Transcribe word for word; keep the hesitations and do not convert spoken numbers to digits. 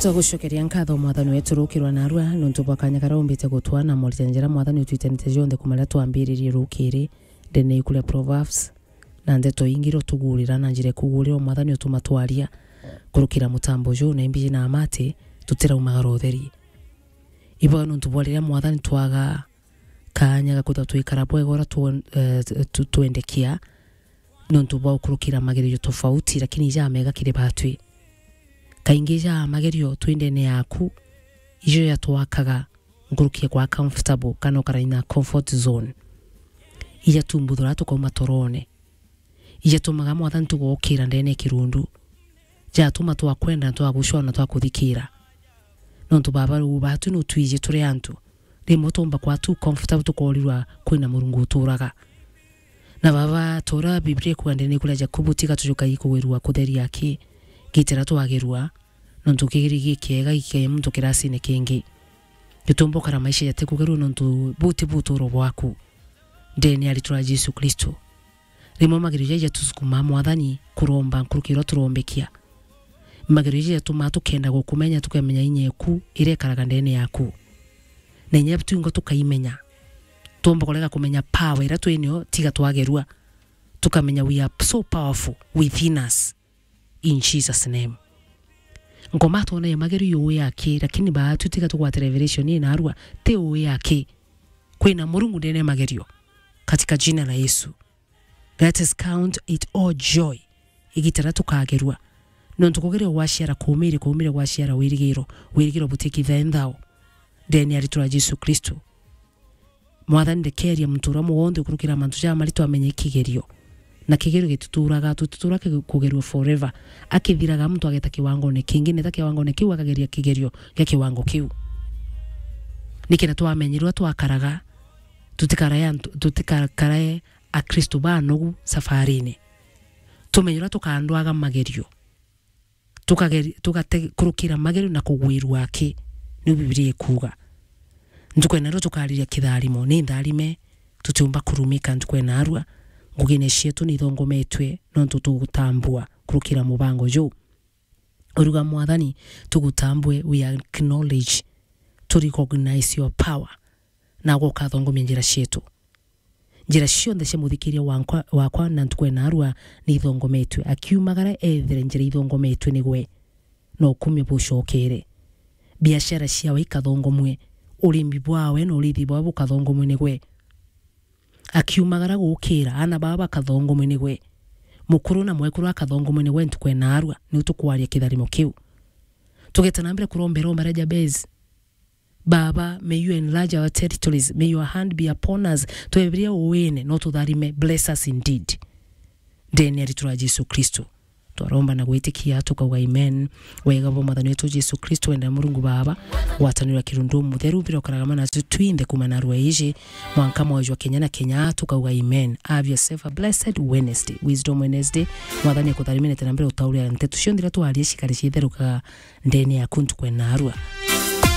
Twagucokeria nkatho Mwathani wetu rukirwa narua nontu bwa kanya karia umbite gutwa na moritani jaria Mwathani utwitanite jonthe kuma riria twambiririe rukiri ndene iku ria Proverbs na ndeto ingi iria utugurira na njira ikugurira o Mwathani utuma twaria kurukira mutambo juu na imbiji na amati tutiraumagara utheri. Ibo nontu bwa riria Mwathani twaga kanya ga kwithirwa twikara bwega uria twen-, eh, tu-, twendekia, nontu bwa gukurukira magerio tofauti, lakini jamega kiri batwi. Kaingi ja magerio twi ndene yaku, ijo jatwakaga nkuruki ya kwa comfortable, kana ukara in a comfort zone. Ijatumbuthuraa tukauma torone. Ijatumaga Mwathani tugokira ndene ya kirundu. Jatuma twakwenda na twagucwa na twakuthikira. Nontu Baba, riu batwi nutwiji turi antu. Rimwe tuumba kwa too comfortable tukorirwa kwina Murungu uturaga. Na Baba, ta uria Biblia ikuuga ndene iku ria Jakubu, tiga tujukai kugwirua kutheria aki, gitira twagirua, nontu kigiri gikiega gikee muntu kirasine kingi. Gituumba ukara maisha jatikugerua nontu buti buturo bwaku. Ndene ya ritwa ria Jesu Kristo. Rimwe magerio jaja jatusukumaa Mwathani kuromba nkuruki iria turombekia. Magerio jaja jatumaa tukenda gukumenya, tukamenya inya eku iria ikaraga ndene yaku. Na inya twingo tukaimenya. Tuomba kurega kumenya power iria twinio tiga twagerua. Tukamenya we are so powerful within us. In Jesus' name. Ngoma twona ya magerio yu yaki, lakini baatu tiga tugwate revelation ii narua, ti uu yaki. Kwina Murungu ndene ya magerio. Katika jina la Yesu. Let us count it all joy. Igita riria tukagerua. Nontu kugeria gwaciara kuumire, kuumire gwaciara wirigiro. Wirigiro butikithae nthao. Ndene ya ritwa ria Jesu Kristo. Mwathani, ndekeria muntu uria wonthe ukurukira mantu jaa maritu amenye kigerio. Na kigerio gitituraga, tutituraga ki-, kugerua forever. Akithiraga muntu ageta kiwangone kingi, neta kiwangone kiu akageria kigerio gia kiwango kiu. Nikenda twamenyerwa twakaraga, tutikarae antu, tutikakarae Akristo banogu safarine. Tumenye uria tukandwaga magerio. Tukageri-, tugate kurukira magerio na kugwirua aki, niu Biblia ikuuga. Ntuku ya narua tukariria kitharimo, ni ntharime, tutiumba kurumika ntuku ya narua, ngugine cietu ni ithongometwe, nontu tugutambua kurukira mubango juu. Uruga Mwathani, tugutambue, we acknowledge, to recognize your power, na gukathongomia njira cietu. Njira cionthe cia muthikiria wankwa, wakwa na ntuku ya narua ni ithongometwe. Akiumagara ethere njira ithongometwe nigwe, na ukumia bucokere. Biashara ciawe ikathongomwe, urimi bwawe na urithi bwawe bukathongomwe nigwe. Akiumagara gukira, aana baba bakathongomwe nigwe. Mukuru na mwekuru akathongomwe nigwe ntuku ya narua, niu tukwaria kitharimo kiu. Tugeta na mbere kuromba iromba ria Jabez. Baba, may you enlarge our territories. May your hand be upon us. Twebiria uwine, no tutharime. Bless us indeed. Ndene ya ritwa ria Jesu Kristo. Twaromba na gwitikia, tukauga amen. Wega bwa Mwathani wetu Jesu Kristo, wenda Murungu Baba, gwatanirwa kirundu mutheru, mbira ukaraga mana tu twinthe kuma narua iji, mwanka mwoyo jwa kenya na kenya, tukauga amen. Have yourself a blessed Wednesday, Wisdom Wednesday. Mwathani akutharimire tena mbere utauria nteto cionthe iria twaria cikare ciitherukaga ndene yaku ntuku ya narua.